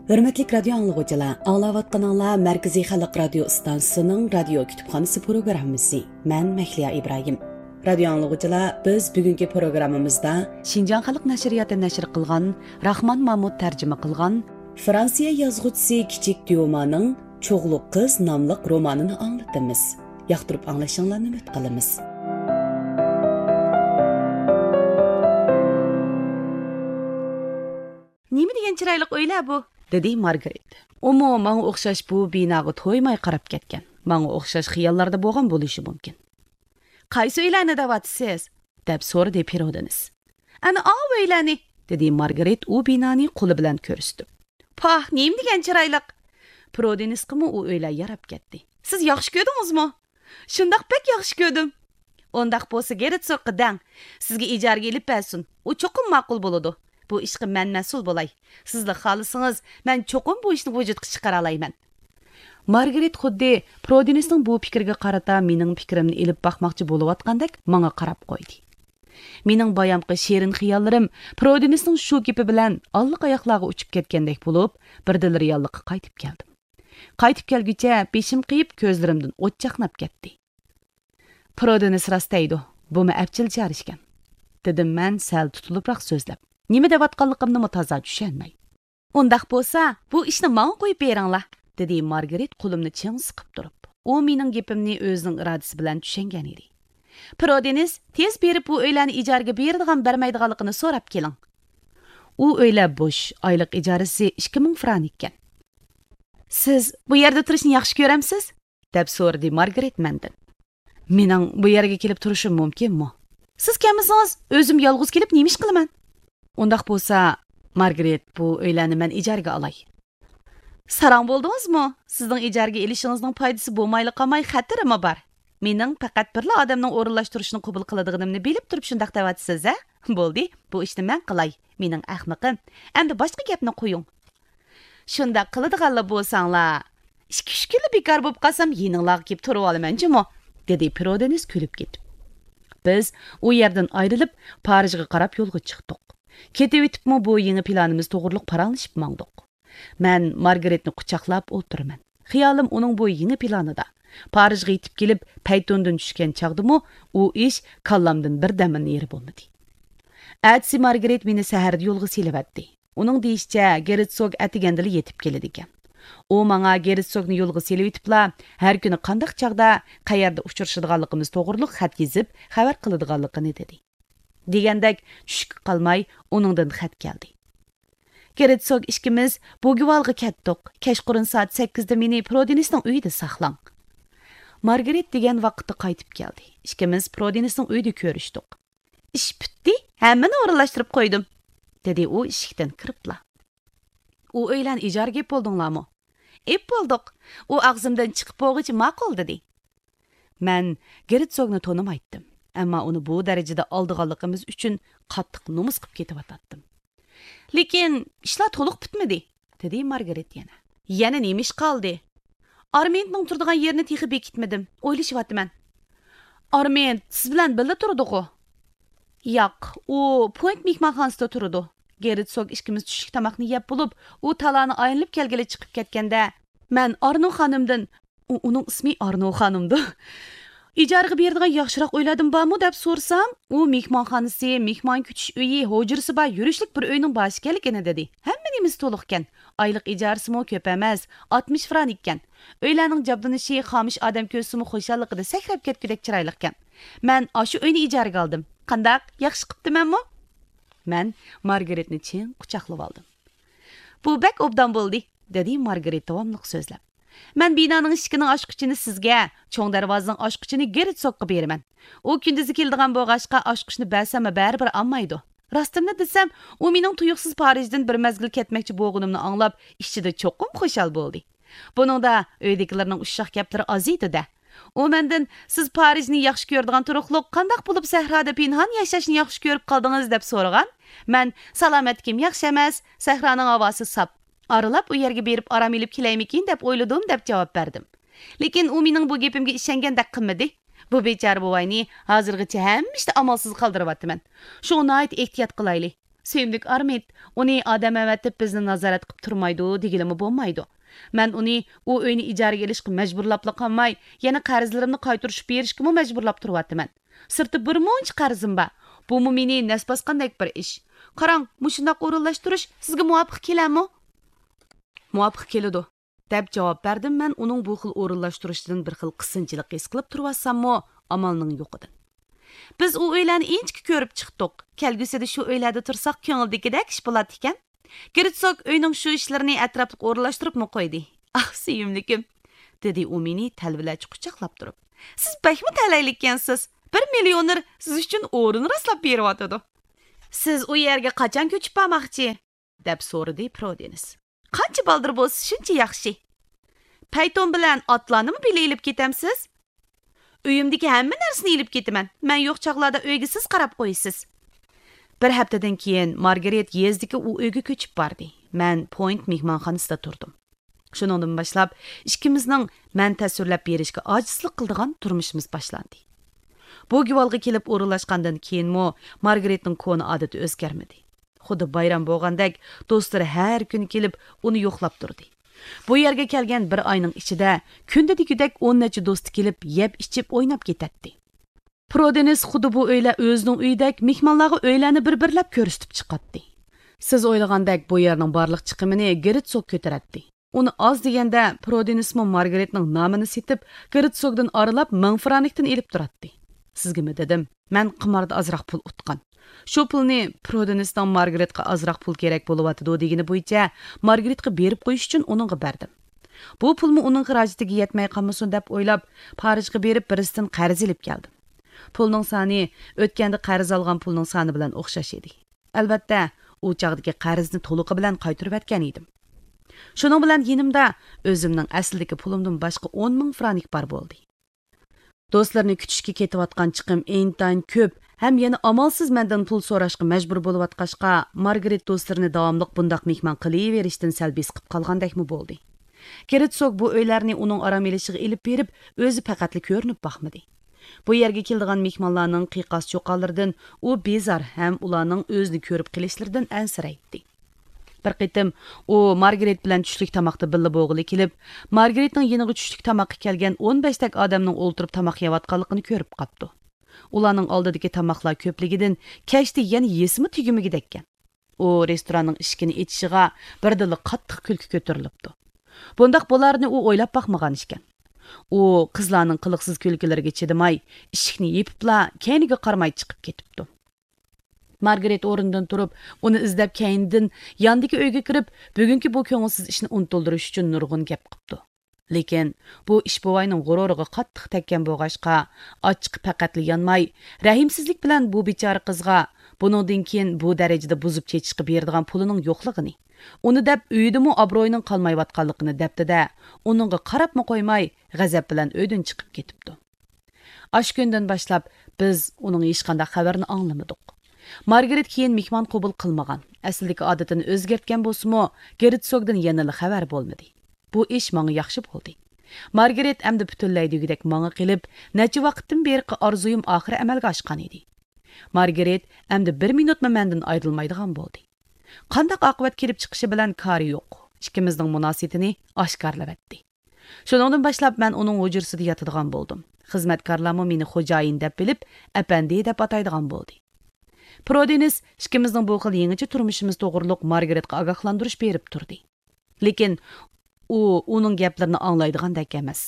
ھۆرمەتلىك رادىيو ئاڭلىغۇچىلار، ئاڭلاۋاتقىنىڭلار مەركىزىي خەلق رادىيو ئىستانسىسىنىڭ رادىيو كۇتۇپخانىسى پروگراممىسى. مەن مەھلىيا ئىبراھىم. رادىيو ئاڭلىغۇچىلار، بىز بۈگۈنكى پروگراممىمىزدا شىنجاڭ خەلق نەشرىياتى نەشر قىلغان، راخمان مامۇت تەرجىمە قىلغان، فرانسىيە يازغۇچىسى كىچىك ديومانىڭ چوغلۇق قىز ناملىق رومانىنى ئاڭلىتىمىز. ياقتۇرۇپ ئاڭلىشىڭلارنى ئۈمىد قىلىمىز. نېمە دېگەن چىرايلىق ئۆيلەر بۇ؟ دېدى مارگرېت. ئۇمۇ ماڭا ئوخشاش بۇ بىناغا تويماي قاراپ كەتكەن، ماڭا ئوخشاش خىياللاردا بولغان بولۇشى مۇمكىن. قايسى ئۆيلەرنى دەۋاتىسىز؟ دەپ سورىدى پىرودېنس. ئەنە ئاۋۇ ئۆيلەرنى. دېدى مارگارېت ئۇ بىنانى قولى بىلەن كۆرسىتىپ. پاھ، نېمە دېگەن چىرايلىق! پرودېنىسقىمۇ ئۇ ئۆيلەر ياراپ كەتتى. سىز ياخشى كۆردىڭىزمۇ؟ شۇنداق، بەك ياخشى كۆردۈم. ئۇنداق بولسا گېرتسوگقا دەڭ، سىزگە ئىجارىگە ئېلىپ بەرسۇن. ئۇ چوقۇم ماقۇل بولىدۇ. بۇ ئىشقا مەن مەسئۇل بولاي. سىزلا خالىسىڭىز، مەن چوقۇم بۇ ئىشنى ۋۇجۇدقا چىقىرالايمەن. مارگرېت خۇددى پرودېنىسنىڭ بۇ پىكرىگە قارىتا مېنىڭ پىكرىمنى ئېلىپ باقماقچى بولۇۋاتقاندەك ماڭا قاراپ قويدى. مېنىڭ بايامقى شېرىن خىياللىرىم پرودېنىسنىڭ شۇ گېپى بىلەن ئاللىقاياقلارغا ئۇچۇپ كەتكەندەك بولۇپ، بىردىنلا رېئاللىققا قايتىپ كەلدىم. قايتىپ كەلگۈچە بېشىم قېيىپ، كۆزلىرىمدىن ئوت چاقناپ كەتتى. پرودېنىس راست دەيدۇ، بۇمۇ ئەپچىل چارە ئىكەن، دېدىم مەن سەل تۇتۇلۇپراق سۆزلەپ، نېمە دەۋاتقانلىقىمنىمۇ تازا چۈشەنمەي. ئۇنداق بولسا، بۇ ئىشنى ماڭا قويۇپ بېرىڭلار، دېدى مارگرېت قولۇمنى چىڭ سىقىپ تۇرۇپ. ئۇ مېنىڭ گېپىمنى ئۆزىنىڭ ئىرادىسى بىلەن چۈشەنگەن ئىدى. پرودېنىس، تېز بېرىپ بۇ ئۆيلەرنى ئىجارىگە بېرىدىغان بەرمەيدىغانلىقىنى سوراپ كېلىڭ. ئۇ ئۆيلەر بوش، ئايلىق ئىجارىسى ئىككى مىڭ فرانك ئىكەن. سىز بۇ يەردە تۇرۇشنى ياخشى كۆرەمسىز؟ دەپ سورىدى مارگرېت مەندىن. مېنىڭ بۇ يەرگە كېلىپ تۇرۇشۇم مۇمكىنمۇ؟ سىز كەلمىسىڭىز، ئۆزۈم يالغۇز كېلىپ نېمە ئىش قىلىمەن؟ ئۇنداق بولسا، مارگرېت، بۇ ئۆيلەرنى مەن ئىجارىگە ئالاي. ساراڭ بولدىڭىزمۇ؟ سىزنىڭ ئىجارىگە ئېلىشىڭىزنىڭ پايدىسى بولمايلا قالماي، خەتىرىمۇ بار. مېنىڭ پەقەت بىرلا ئادەمنىڭ ئورۇنلاشتۇرۇشنى قوبۇل قىلىدىغىنىمنى بىلىپ تۇرۇپ شۇنداق دەۋاتىسىز، ھە؟ بولدى، بۇ ئىشنى مەن قىلاي. مېنىڭ ئەخمىقىم. ئەمدى باشقا گەپنى قويۇڭ. شۇنداق قىلىدىغانلا بولساڭلار، ئىككى-ئۈچ كۈنلا بىكار بولۇپ قالسام، يېنىڭلارغا كېلىپ تۇرۇۋالىمەن جۇمۇ، دېدى پرودېنىس كۈلۈپ كېتىپ. بىز ئۇ يەردىن ئايرىلىپ، پارىژغا قاراپ يولغا چىقتۇق. كېتىۋېتىپمۇ بۇ يېڭى پىلانىمىز توغرۇلۇق پاراڭلىشىپ ماڭدۇق. مەن مارگرېتنى قۇچاقلاپ ئولتۇرىمەن. خىيالىم ئۇنىڭ بۇ يېڭى پىلانىدا. پارىژغا يېتىپ كېلىپ، پەيتۇندىن چۈشكەن چاغدىمۇ ئۇ ئىش كاللامدىن بىردەممۇ نېرى بولمىدى. ئەتىسى مارگرېت مېنى سەھەردە يولغا سېلىۋەتتى. ئۇنىڭ دېيىشىچە، گېرتسوگ ئەتىگەندىلا يېتىپ كېلىدىكەن. ئۇ ماڭا گېرتسوگنى يولغا سېلىۋېتىپلا، ھەر كۈنى قانداق چاغدا، قەيەردە ئۇچرىشىدىغانلىقىمىز توغرۇلۇق خەت يېزىپ، خەۋەر قىلىدىغانلىقىنى دېدى. دېگەندەك، چۈشكە قالماي ئۇنىڭدىن خەت كەلدى. گېرتسوگ ئىككىمىز بوگېۋالغا كەتتۇق. كەچقۇرۇن سائەت سەككىزدە مېنى پرودېنىسنىڭ ئۆيىدە ساقلاڭ. مارگرېت دېگەن ۋاقىتتا قايتىپ كەلدى. ئىككىمىز پرودېنىسنىڭ ئۆيىدە كۆرۈشتۇق. ئىش پۈتتى، ھەممىنى ئورۇنلاشتۇرۇپ قويدۇم، دېدى ئۇ ئىشىكتىن كىرىپلا. ئۇ ئۆيلەرنى ئىجارىگە ئېلىپ بولدۇڭلارمۇ؟ ئېلىپ بولدۇق. ئۇ ئاغزىمدىن چىقىپ بولغۇچە ماقۇل، دېدى. مەن گېرتسوگنى تونۇمايتتىم، ئەمما ئۇنى بۇ دەرىجىدە ئالدىغانلىقىمىز ئۈچۈن قاتتىق نومۇس قىلىپ كېتىۋاتاتتىم. لېكىن ئىشلار تولۇق پۈتمىدى، دېدى مارگرېت يەنە. يەنە نېمە ئىش قالدى؟ ئارمېنتنىڭ تۇرىدىغان يېرىنى تېخى بېكىتمىدىم، ئويلىشىۋاتىمەن. ئارمېنت سىز بىلەن بىللە تۇرىدىغۇ؟ ياق، ئۇ پوينت مېھمانخانىسىدا تۇرىدۇ. گېرتسوگ ئىككىمىز چۈشلۈك تاماقنى يەپ بولۇپ، ئۇ تالانى ئايلىنىپ كەلگىلى چىقىپ كەتكەندە، مەن ئارنو خانىمدىن، ئۇ، ئۇنىڭ ئىسمى ئارنو خانىمدۇ؟ ئىجارىگە بېرىدىغان ياخشىراق ئۆيلەردىن بارمۇ دەپ سورىسام، ئۇ مېھمانخانىسى، مېھمان كۈتۈش ئۆيى، ھۇجرىسى بار يۈرۈشلۈك بىر ئۆينىڭ بار ئىكەنلىكىنى دېدى. ھەممە نېمىسى تولۇقكەن. ئايلىق ئىجارىسىمۇ كۆپ ئەمەس، ئاتمىش فرانك ئىكەن. ئۆيلەرنىڭ جابدۇنۇشى، خامۇش ئادەم كۆرسىمۇ خۇشاللىقىدا سەكرەپ كەتكۈدەك چىرايلىقكەن. مەن ئاشۇ ئۆينى ئىجارىگە ئالدىم. قانداق، ياخشى قىپتىمەنمۇ؟ مەن مارگرېتنى چىڭ قۇچاقلىۋالدىم. بۇ بەك ئوبدان بولدى، دېدى مارگرېت داۋاملىق سۆزلەپ. مەن بىنانىڭ ئىشىكىنىڭ ئاچقۇچىنى سىزگە، چوڭ دەرۋازىنىڭ ئاچقۇچىنى گېرتسوگقا بېرىمەن. ئۇ كۈندۈزى كېلىدىغان بولغاچقا، ئاچقۇچنى بەرسەممۇ بەرىبىر ئالمايدۇ. راستىمنى دېسەم، ئۇ مېنىڭ تۇيۇقسىز پارىژدىن بىر مەزگىل كەتمەكچى بولغىنىمنى ئاڭلاپ، ئىچىدە چوقۇم خۇشال بولدى. بۇنىڭدا ئۆيدىكىلەرنىڭ ئۇششاق گەپلىرى ئازىيدۇ-دە. ئۇ مەندىن، سىز پارىژنى ياخشى كۆرىدىغان تۇرۇقلۇق، قانداق بولۇپ سەھرادا پىنھان ياشاشنى ياخشى كۆرۈپ قالدىڭىز؟ دەپ سورىغان. مەن، سالامەتلىكىم ياخشى ئەمەس، سەھرانىڭ ھاۋاسى ساپ. ئارىلاپ ئۇ يەرگە بېرىپ ئارام ئېلىپ كېلەيمىكىن دەپ ئويلىدىم، دەپ جاۋاب بەردىم. لېكىن ئۇ مېنىڭ بۇ گېپىمگە ئىشەنگەندەك قىلمىدى. بۇ بىچارە بوۋاينى ھازىرغىچە ھەممە ئىشتا ئامالسىز قالدۇرۇۋاتىمەن. شۇڭا ناھايىتى ئېھتىيات قىلايلى. سۆيۈملۈك ئارمىد، ئۇنى ئادەم ئەۋەتىپ بىزنى نازارەت قىلىپ تۇرمايدۇ دېگىلىمۇ بولمايدۇ. مەن ئۇنى ئۇ ئۆينى ئىجارىگە ئېلىشقا مەجبۇرلاپلا قالماي، يەنە قەرزلىرىمنى قايتۇرۇشۇپ بېرىشكىمۇ مەجبۇرلاپ تۇرۇۋاتىمەن. سىرتتا بىر مۇنچە قەرزىم بار. بۇمۇ مېنى نەس باسقاندەك بىر ئىش. قاراڭ، مۇشۇنداق ئورۇنلاشتۇرۇش سىزگە مۇۋاپىق كېلەرمۇ؟ مۇۋاپىق كېلىدۇ، دەپ جاۋاب بەردىم مەن ئۇنىڭ بۇ خىل ئورۇنلاشتۇرۇشىدىن بىر خىل قىسىنچىلىق ھېس قىلىپ تۇرۇۋاتساممۇ، ئامالنىڭ يوقىدىن. بىز ئۇ ئۆيلەرنى ئىنچىكە كۆرۈپ چىقتۇق. كەلگۈسىدە شۇ ئۆيلەردە تۇرساق كۆڭۈلدىكىدەك ئىش بولاتتىكەن. گېرتسوگ ئۆينىڭ شۇ ئىشلىرىنى ئەتراپلىق ئورۇنلاشتۇرۇپمۇ قويدى. ئاھ، سۆيۈملۈكۈم، دېدى ئۇ مېنى تەلۋىلەرچە قۇچاقلاپ تۇرۇپ. سىز بەكمۇ تەلەيلىككەنسىز. بىر مىليونېر سىز ئۈچۈن ئورۇن راسلاپ بېرىۋاتىدۇ. سىز ئۇ يەرگە قاچان كۆچۈپ بارماقچى؟ دەپ سورىدى پرودېنىس. قانچە بالدۇر بولسا، شۇنچە ياخشى. پەيتون بىلەن ئاتلارنىمۇ بىللە ئېلىپ كېتەمسىز؟ ئۆيۈمدىكى ھەممە نەرسىنى ئېلىپ كېتىمەن. مەن يوق چاغلاردا ئۆيگە سىز قاراپ قويىسىز. بىر ھەپتىدىن كېيىن مارگرېت يېزىدىكى ئۇ ئۆيگە كۆچۈپ باردى. مەن پوينت مېھمانخانىسىدا تۇردۇم. شۇنىڭدىن باشلاپ ئىككىمىزنىڭ مەن تەسۋىرلەپ بېرىشكە ئاجىزلىق قىلىدىغان تۇرمۇشىمىز باشلاندى. بۇ گۇۋالغا كېلىپ ئورۇنلاشقاندىن كېيىنمۇ مارگرېتنىڭ كونا ئادىتى ئۆزگەرمىدى. خۇددى بايرام بولغاندەك دوستلىرى ھەر كۈنى كېلىپ ئۇنى يوقلاپ تۇردى. بۇ يەرگە كەلگەن بىر ئاينىڭ ئىچىدە كۈندە دېگۈدەك ئون نەچچە دوستى كېلىپ يەپ ئىچىپ ئويناپ كېتەتتى. پرودېنىس خۇددى بۇ ئۆيلەر ئۆزىنىڭ ئۆيىدەك مېھمانلارغا ئۆيلەرنى بىر بىرلەپ كۆرسىتىپ چىقاتتى. سىز ئويلىغاندەك بۇ يەرنىڭ بارلىق چىقىمىنى گېرتسوگ كۆتۈرەتتى. ئۇنى ئاز دېگەندە پرودېنىسمۇ مارگرېتنىڭ نامىنى سېتىپ گېرتسوگدىن ئارىلاپ مىڭ فرانكتىن ئېلىپ تۇراتتى. سىزگىمۇ دېدىم، مەن قىماردا ئازراق پۇل ئۇتقان. شۇ پۇلنى پرودېنىسنىڭ مارگرېتقا ئازراق پۇل كېرەك بولۇۋاتىدۇ دېگىنى بويىچە مارگرېتقا بېرىپ قويۇش ئۈچۈن ئۇنىڭغا بەردىم. بۇ پۇلمۇ ئۇنىڭ خىراجىتىگە يەتمەي قالمىسۇن دەپ ئويلاپ، پارىژغا بېرىپ بىرسىدىن قەرز ئېلىپ كەلدىم. پۇلنىڭ سانى ئۆتكەندە قەرز ئالغان پۇلنىڭ سانى بىلەن ئوخشاش ئىدى. ئەلۋەتتە، ئۇ چاغدىكى قەرزنى تولۇقى بىلەن قايتۇرۇۋەتكەن ئىدىم. شۇنىڭ بىلەن يېنىمدا ئۆزۈمنىڭ ئەسلىدىكى پۇلۇمدىن باشقا ئون مىڭ فرانك بار بولدى. دوستلىرىنى كۈتۈشكە كېتىۋاتقان چىقىم ئىنتايىن كۆپ ھەم يەنە ئامالسىز مەندىن پۇل سوراشقا مەجبۇر بولۇۋاتقاچقا، مارگرېت دوستلىرىنى داۋاملىق بۇنداق مېھمان قىلىۋېرىشتىن سەل بېسىقىپ قالغاندەكمۇ بولدى. گېرتسوگ بۇ ئۆيلەرنى ئۇنىڭ ئارام ئېلىشىغا ئېلىپ بېرىپ، ئۆزى پەقەتلا كۆرۈنۈپ باقمىدى. بۇ يەرگە كېلىدىغان مېھمانلارنىڭ قىيقاس-چۇقانلىرىدىن ئۇ بىزار ھەم ئۇلارنىڭ ئۆزىنى كۆرۈپ قېلىشلىرىدىن ئەنسىرەيتتى. بىر قېتىم ئۇ مارگرېت بىلەن چۈشلۈك تاماقتا بىللە بولغىلى كېلىپ، مارگرېتنىڭ يېنىغا چۈشلۈك تاماققا كەلگەن ئون بەشتەك ئادەمنىڭ ئولتۇرۇپ تاماق يەۋاتقانلىقىنى كۆرۈپ قاپتۇ. ئۇلارنىڭ ئالدىدىكى تاماقلار كۆپلۈكىدىن كەچتە يەنە يېسىمۇ تۈگىمىگۈدەككەن. ئۇ رېستوراننىڭ ئىشىكىنى ئېچىشىغا بىردىنلا قاتتىق كۈلكە كۆتۈرۈلۈپتۇ. بۇنداق بولارىنى ئۇ ئويلاپ باقمىغان ئىكەن. ئۇ قىزلارنىڭ قىلىقسىز كۈلكىلىرىگە چىدىماي، ئىشىكنى يېپىپلا، كەينىگە قارىماي چىقىپ كېتىپتۇ. مارگرېت ئورنىدىن تۇرۇپ، ئۇنى ئىزدەپ كەينىدىن ياندىكى ئۆيگە كىرىپ، بۈگۈنكى بۇ كۆڭۈلسىز ئىشنى ئۇنتۇلدۇرۇش ئۈچۈن نۇرغۇن گەپ قىپتۇ. لېكىن بۇ ئىش بوۋاينىڭ غۇرۇرىغا قاتتىق تەگكەن بولغاچقا، ئاچچىقى پەقەتلا يانماي، رەھىمسىزلىك بىلەن بۇ بىچارە قىزغا بۇنىڭدىن كېيىن بۇ دەرىجىدە بۇزۇپ چېچىشقا بېرىدىغان پۇلىنىڭ يوقلۇقىنى، ئۇنى دەپ ئۆيىدىمۇ ئابرۇيىنىڭ قالمايۋاتقانلىقىنى دەپتۇ-دە، ئۇنىڭغا قاراپمۇ قويماي، غەزەپ بىلەن ئۆيدىن چىقىپ كېتىپتۇ. ئاشۇ كۈندىن باشلاپ بىز ئۇنىڭ ھېچقانداق خەۋىرىنى ئاڭلىمىدۇق. مارگرېت كېيىن مېھمان قوبۇل قىلمىغان، ئەسلىدىكى ئادىتىنى ئۆزگەرتكەن بولسىمۇ، گېرتسوگدىن يەنىلا خەۋەر بولمىدى. بۇ ئىش ماڭا ياخشى بولدى. مارگرېت ئەمدى پۈتۈنلەي دېگۈدەك ماڭا قېلىپ، نەچچە ۋاقىتتىن بېرىقى ئارزۇيۇم ئاخىرى ئەمەلگە ئاشقان ئىدى. مارگرېت ئەمدى بىر مىنۇتمۇ مەندىن ئايرىلمايدىغان بولدى. قانداق ئاقىۋەت كېلىپ چىقىشى بىلەن كارى يوق، ئىككىمىزنىڭ مۇناسىۋىتىنى ئاشكارىلىۋەتتى. شۇنىڭدىن باشلاپ مەن ئۇنىڭ ھۇجرىسىدا ياتىدىغان بولدۇم. خىزمەتكارلارمۇ مېنى خوجايىن دەپ بىلىپ، ئەپەندى دەپ ئاتايدىغان بولدى. پرودېنىس ئىككىمىزنىڭ بۇ خىل يېڭىچە تۇرمۇشىمىز توغرۇلۇق مارگرېتقا ئاگاھلاندۇرۇش بېرىپ تۇردى. لېكىن ئۇ ئۇنىڭ گەپلىرىنى ئاڭلايدىغاندەك ئەمەس.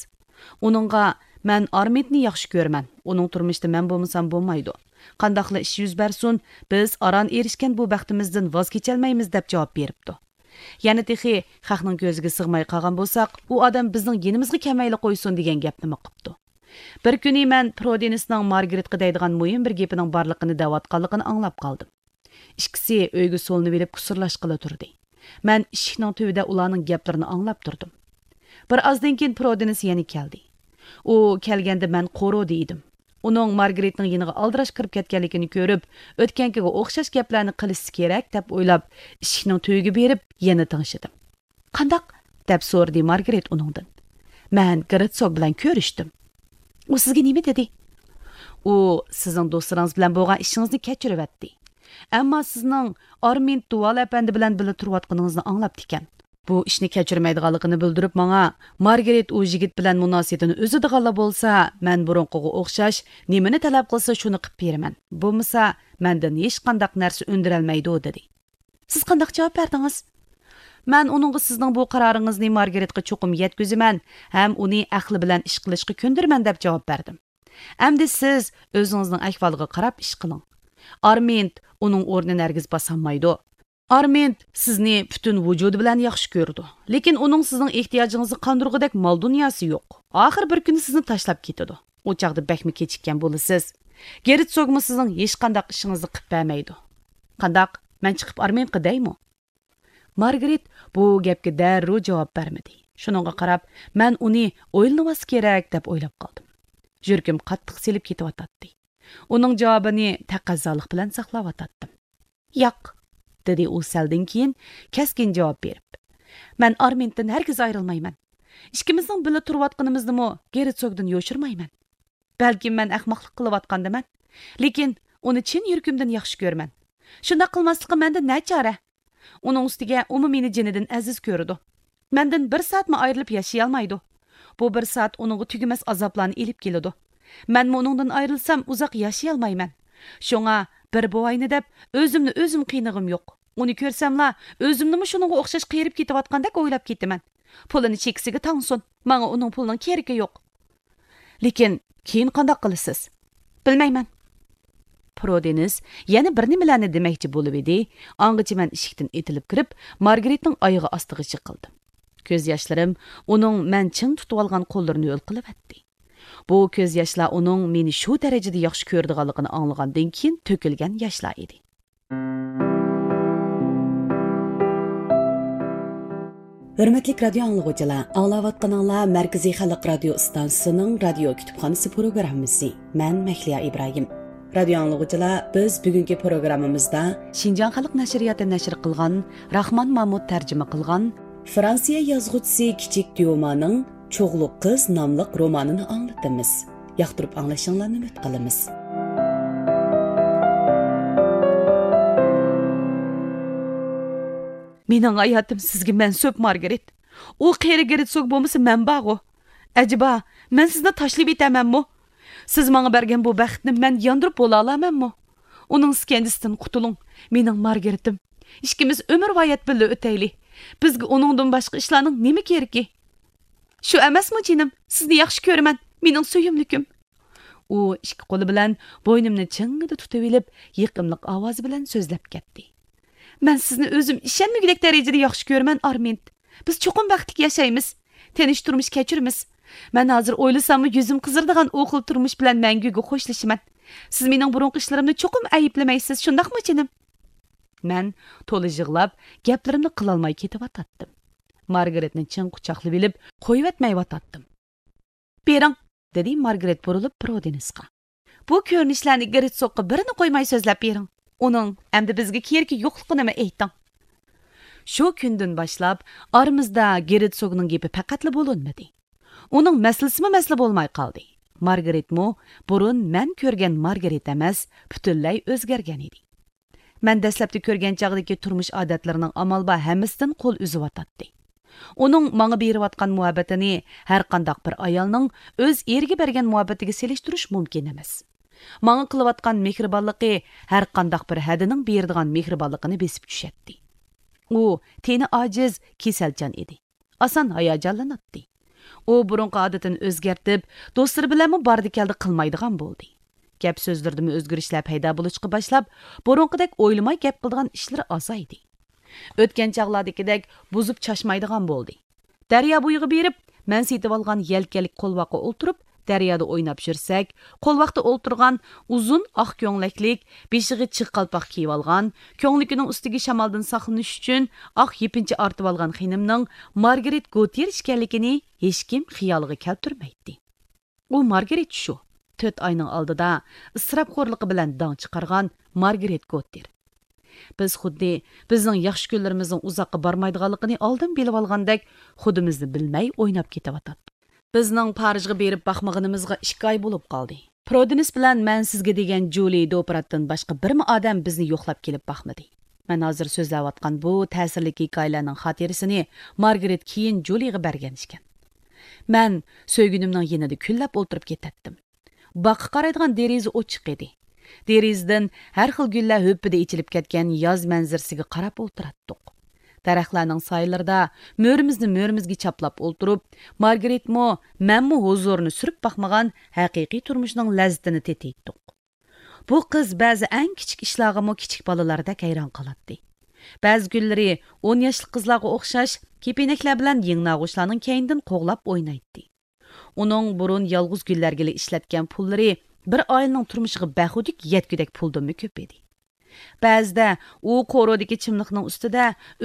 ئۇنىڭغا، مەن ئارمىدنى ياخشى كۆرىمەن، ئۇنىڭ تۇرمۇشىدا مەن بولمىسام بولمايدۇ. قانداقلا ئىش يۈز بەرسۇن، بىز ئاران ئېرىشكەن بۇ بەختىمىزدىن ۋاز كېچەلمەيمىز، دەپ جاۋاب بېرىپتۇ. يەنە تېخى خەقنىڭ كۆزىگە سىغماي قالغان بولساق، ئۇ ئادەم بىزنىڭ يېنىمىزغا كەلمەيلا قويسۇن، دېگەن گەپنىمۇ قىپتۇ. بىر كۈنى مەن پرودېنىسنىڭ مارگرېتقا دەيدىغان مۇھىم بىر گېپىنىڭ بارلىقىنى دەۋاتقانلىقىنى ئاڭلاپ قالدىم. ئىككىسى ئۆيگە سولىنىۋېلىپ كۇسۇرلاشقىلى تۇردى. مەن ئىشىكنىڭ تۈۋىدە ئۇلارنىڭ گەپلىرىنى ئاڭلاپ تۇردۇم. بىر ئازدىن كېيىن پرودېنىس يەنە كەلدى. ئۇ كەلگەندە مەن قورۇدى ئىدىم. ئۇنىڭ مارگرېتنىڭ يېنىغا ئالدىراش كىرىپ كەتكەنلىكىنى كۆرۈپ، ئۆتكەنكىگە ئوخشاش گەپلەرنى قىلىشى كېرەك دەپ ئويلاپ، ئىشىكنىڭ تۈۋىگە بېرىپ يەنە تىڭشىدىم. قانداق؟ دەپ سورىدى مارگرېت ئۇنىڭدىن. مەن گېرتسوگ بىلەن كۆرۈشتۈم. ئۇ سىزگە نېمە دېدى؟ ئۇ سىزنىڭ دوستلىرىڭىز بىلەن بولغان ئىشىڭىزنى كەچۈرۈۋەتتى. ئەمما سىزنىڭ ئارمىند دۇۋال ئەپەندى بىلەن بىللە تۇرۇۋاتقىنىڭىزنى ئاڭلاپتىكەن. بۇ ئىشنى كەچۈرمەيدىغانلىقىنى بىلدۈرۈپ ماڭا، مارگرېت ئۇ يىگىت بىلەن مۇناسىۋىتىنى ئۈزىدىغانلا بولسا، مەن بۇرۇنقىغا ئوخشاش نېمىنى تەلەپ قىلسا شۇنى قىپ بېرىمەن. بولمىسا مەندىن ھېچقانداق نەرسە ئۈندۈرەلمەيدۇ، دېدى. سىز قانداق جاۋاب بەردىڭىز؟ مەن ئۇنىڭغا سىزنىڭ بۇ قارارىڭىزنى مارگرېتقا چوقۇم يەتكۈزىمەن ھەم ئۇنى ئەقلى بىلەن ئىش قىلىشقا كۆندۈرىمەن دەپ جاۋاب بەردىم. ئەمدى سىز ئۆزىڭىزنىڭ ئەھۋالىغا قاراپ ئىش قىلىڭ. ئارمىند ئۇنىڭ ئورنىنى ھەرگىز باسالمايدۇ. ئارمىند سىزنى پۈتۈن ۋۇجۇدى بىلەن ياخشى كۆرىدۇ. لېكىن ئۇنىڭ سىزنىڭ ئېھتىياجىڭىزنى قاندۇرغۇدەك مال دۇنياسى يوق. ئاخىر بىر كۈنى سىزنى تاشلاپ كېتىدۇ. ئۇ چاغدا بەكمۇ كېچىككەن بولىسىز. گېرتسوگمۇ سىزنىڭ ھېچقانداق ئىشىڭىزنى قىپ بەرمەيدۇ. قانداق، مەن چىقىپ ئارمىنقا دەيمۇ؟ مارگرېت بۇ گەپكە دەررۇ جاۋاب بەرمىدى. شۇنىڭغا قاراپ، مەن ئۇنى ئويلىنىۋالسا كېرەك دەپ ئويلاپ قالدىم. يۈرىكىم قاتتىق سېلىپ كېتىۋاتاتتى. ئۇنىڭ جاۋابىنى تەقەززالىق بىلەن ساقلاۋاتاتتىم. ياق، دېدى ئۇ سەلدىن كېيىن كەسكىن جاۋاب بېرىپ. مەن ئارمىنتىن ھەرگىز ئايرىلمايمەن. ئىككىمىزنىڭ بىللە تۇرۇۋاتقىنىمىزنىمۇ گېرتسوگدىن يوشۇرمايمەن. بەلكىم مەن ئەخمەقلىق قىلىۋاتقاندىمەن، لېكىن ئۇنى چىن يۈرىكىمدىن ياخشى كۆرىمەن. شۇنداق قىلماسلىققا مەندە نەچارە؟ ئۇنىڭ ئۈستىگە ئۇمۇ مېنى جېنىدىن ئەزىز كۆرىدۇ. مەندىن بىر سائەتمۇ ئايرىلىپ ياشىيالمايدۇ. بۇ بىر سائەت ئۇنىڭغا تۈگىمەس ئازابلارنى ئېلىپ كېلىدۇ. مەنمۇ ئۇنىڭدىن ئايرىلسام ئۇزاق ياشىيالمايمەن. شۇڭا بىر بوۋاينى دەپ ئۆزۈمنى ئۆزۈم قىينىغۇم يوق. ئۇنى كۆرسەملا ئۆزۈمنىمۇ شۇنىڭغا ئوخشاش قېرىپ كېتىۋاتقاندەك ئويلاپ كېتىمەن. پۇلىنى چېكىسىگە تاڭسۇن، ماڭا ئۇنىڭ پۇلىنىڭ كېرىكى يوق. لېكىن كېيىن قانداق قىلىسىز؟ بىلمەيمەن. پرودېنس يەنە بىر نېمىلەرنى دېمەكچى بولۇۋىدى، ئاڭغىچە مەن ئىشىكتىن ئېتىلىپ كىرىپ، مارگرېتنىڭ ئايىغى ئاستىغا جىقىلدىم. كۆز ياشلىرىم ئۇنىڭ مەن چىڭ تۇتۇۋالغان قوللىرىنى ھۆل قىلىۋەتتى. بۇ كۆز ياشلار ئۇنىڭ مېنى شۇ دەرىجىدە ياخشى كۆرىدىغانلىقىنى ئاڭلىغاندىن كېيىن تۆكۈلگەن ياشلار ئىدى. ھۆرمەتلىك رادىيو ئاڭلىغۇچىلار، ئاڭلاۋاتقىنىڭلار مەركىزىي خەلق رادىيو ئىستانسىسىنىڭ رادىيو كۈتۈپخانىسى پروگراممىسى. مەن مەھلىيا ئىبراھىم. رادىيو ئاڭلىغۇچىلار، بىز بۈگۈنكى پروگراممىمىزدا شىنجاڭ خەلق نەشرىياتى نەشر قىلغان، راخمان مامۇت تەرجىمە قىلغان، فرانسىيە يازغۇچىسى كىچىك ديومانىڭ چوغلۇق قىز ناملىق رومانىنى ئاڭلىتىمىز. ياقتۇرۇپ ئاڭلىشىڭلارنى ئۈمىد قىلىمىز. مېنىڭ ھاياتىم سىزگە مەنسۇپ، مارگرېت. ئۇ قېرى گېرتسوگ بولمىسا، مەن بارغۇ. ئەجەبا، مەن سىزنى تاشلىۋېتەمەنمۇ؟ سىز ماڭا بەرگەن بۇ بەختنى مەن ياندۇرۇپ بولالامەنمۇ؟ ئۇنىڭ ئىسكەنجىسىدىن قۇتۇلۇڭ، مېنىڭ مارگرېتىم. ئىككىمىز ئۆمۈرۋايەت بىللە ئۆتەيلى. بىزگە ئۇنىڭدىن باشقا ئىشلارنىڭ نېمە كېرىكى؟ شۇ ئەمەسمۇ جېنىم، سىزنى ياخشى كۆرىمەن، مېنىڭ سۆيۈملۈكۈم. ئۇ ئىككى قولى بىلەن بوينۇمنى چىڭڭىدە تۇتۇۋېلىپ، يېقىملىق ئاۋازى بىلەن سۆزلەپ كەتتى. مەن سىزنى ئۆزۈم ئىشەنمىگۈدەك دەرىجىدە ياخشى كۆرىمەن، ئارمىند. بىز چوقۇم بەختلىك ياشايمىز. تىنچ تۇرمۇش كەچۈرىمىز. مەن ھازىر ئويلىساممۇ يۈزۈم قىزىرىدىغان ئۇ خىل تۇرمۇش بىلەن مەڭگۈگە خوشلىشىمەن. سىز مېنىڭ بۇرۇنقى ئىشلىرىمنى چوقۇم ئەيىبلىمەيسىز، شۇنداقمۇ جېنىم؟ مەن تولا يىغلاپ، گەپلىرىمنى قىلالماي كېتىۋاتاتتىم. مارگرېتنى چىڭ قۇچاقلىۋېلىپ، قويۇۋەتمەيۋاتاتتىم. بېرىڭ، دېدى مارگرېت بۇرۇلۇپ پرودېنسقا. بۇ كۆرۈنۈشلەرنى گېرتسوگقا بىرىنى قويماي سۆزلەپ بېرىڭ. ئۇنىڭ ئەمدى بىزگە كېرىكى يوقلۇقىنىمۇ ئېيتىڭ. شۇ كۈندىن باشلاپ ئارىمىزدا گېرتسوگنىڭ گېپى پەقەتلا بولۇنمىدى. ئۇنىڭ مەسىلىسىمۇ مەسىلە بولماي قالدى. مارگرېتمۇ بۇرۇن مەن كۆرگەن مارگرېت ئەمەس، پۈتۈنلەي ئۆزگەرگەن ئىدى. مەن دەسلەپتە كۆرگەن چاغدىكى تۇرمۇش ئادەتلىرىنىڭ ئامال بار ھەممىسىدىن قول ئۈزۈۋاتاتتى. ئۇنىڭ ماڭا بېرىۋاتقان مۇھەببىتىنى ھەرقانداق بىر ئايالنىڭ ئۆز ئېرىگە بەرگەن مۇھەببىتىگە سېلىشتۇرۇش مۇمكىن ئەمەس. ماڭا قىلىۋاتقان مېھرىبانلىقى ھەرقانداق بىر ھەدىنىڭ بېرىدىغان مېھرىبانلىقىنى بېسىپ چۈشەتتى. ئۇ تېنى ئاجىز، كېسەلچان ئىدى. ئاسان ھاياجانلىناتتى. ئۇ بۇرۇنقى ئادىتىنى ئۆزگەرتىپ، دوستلىرى بىلەنمۇ باردى-كەلدى قىلمايدىغان بولدى. گەپ سۆزلىرىدىمۇ ئۆزگىرىشلەر پەيدا بولۇشقا باشلاپ، بۇرۇنقىدەك ئويلىماي گەپ قىلىدىغان ئىشلىرى ئازايدى. ئۆتكەن چاغلاردىكىدەك بۇزۇپ چاچمايدىغان بولدى. دەريا بويىغا بېرىپ، مەن سېتىۋالغان يەلكەنلىك قولۋاققا ئولتۇرۇپ، دەريادا ئويناپ يۈرسەك، قولۋاقتا ئولتۇرغان ئۇزۇن ئاق كۆڭلەكلىك، بېشىغا چىغ قالپاق كىيىۋالغان، كۆڭلىكىنىڭ ئۈستىگە شامالدىن ساقلىنىش ئۈچۈن ئاق يېپىنچا ئارتىۋالغان خېنىمنىڭ مارگرېت گوتىر ئىكەنلىكىنى ھېچكىم خىيالىغا كەلتۈرمەيتتى. ئۇ مارگرېت شۇ، تۆت ئاينىڭ ئالدىدا ئىسراپخورلۇقى بىلەن داڭ چىقارغان مارگرېت گوتىر. بىز خۇددى بىزنىڭ ياخشى كۈنلىرىمىزنىڭ ئۇزاققا بارمايدىغانلىقىنى ئالدىن بىلىۋالغاندەك، خۇدىمىزنى بىلمەي ئويناپ كېتىۋاتاتتۇق. بىزنىڭ پارىژغا بېرىپ باقمىغىنىمىزغا ئىككى ئاي بولۇپ قالدى. پرودېنس بىلەن مەن سىزگە دېگەن جۇلى دوپراتتىن باشقا بىرمۇ ئادەم بىزنى يوقلاپ كېلىپ باقمىدى. مەن ھازىر سۆزلەۋاتقان بۇ تەسىرلىك ھېكايىلەرنىڭ خاتىرىسىنى مارگرېت كېيىن جۇلىغا بەرگەن ئىكەن. مەن سۆيگۈنۈمنىڭ يېنىدا كۈنلەپ ئولتۇرۇپ كېتەتتىم. باغقا قارايدىغان دېرىزە ئوچۇق ئىدى. دېرىزىدىن ھەر خىل گۈللەر ھۈپپىدە ئېچىلىپ كەتكەن ياز مەنزىرىسىگە قاراپ ئولتۇراتتۇق. دەرەخلەرنىڭ سايىلىرىدا مۈرىمىزنى مۈرىمىزگە چاپلاپ ئولتۇرۇپ، مارگرېتمۇ، مەنمۇ ھۇزۇرىنى سۈرۈپ باقمىغان ھەقىقىي تۇرمۇشنىڭ لەززىتىنى تېتىيتتۇق. بۇ قىز بەزى ئەڭ كىچىك ئىشلارغىمۇ كىچىك بالىلاردەك ھەيران قالاتتى. بەزى كۈنلىرى ئون ياشلىق قىزلارغا ئوخشاش كېپىنەكلەر بىلەن يىڭنە ئاغۇچلارنىڭ كەينىدىن قوغلاپ ئوينايتتى. ئۇنىڭ بۇرۇن يالغۇز گۈللەرگىلا ئىشلەتكەن پۇللىرى بىر ئائىلىنىڭ تۇرمۇشىغا بەھۇدۈك يەتكۈدەك پۇلدىنمۇ كۆپ ئىدى. بەزىدە ئۇ قورۇدىكى چىملىقنىڭ ئۈستىدە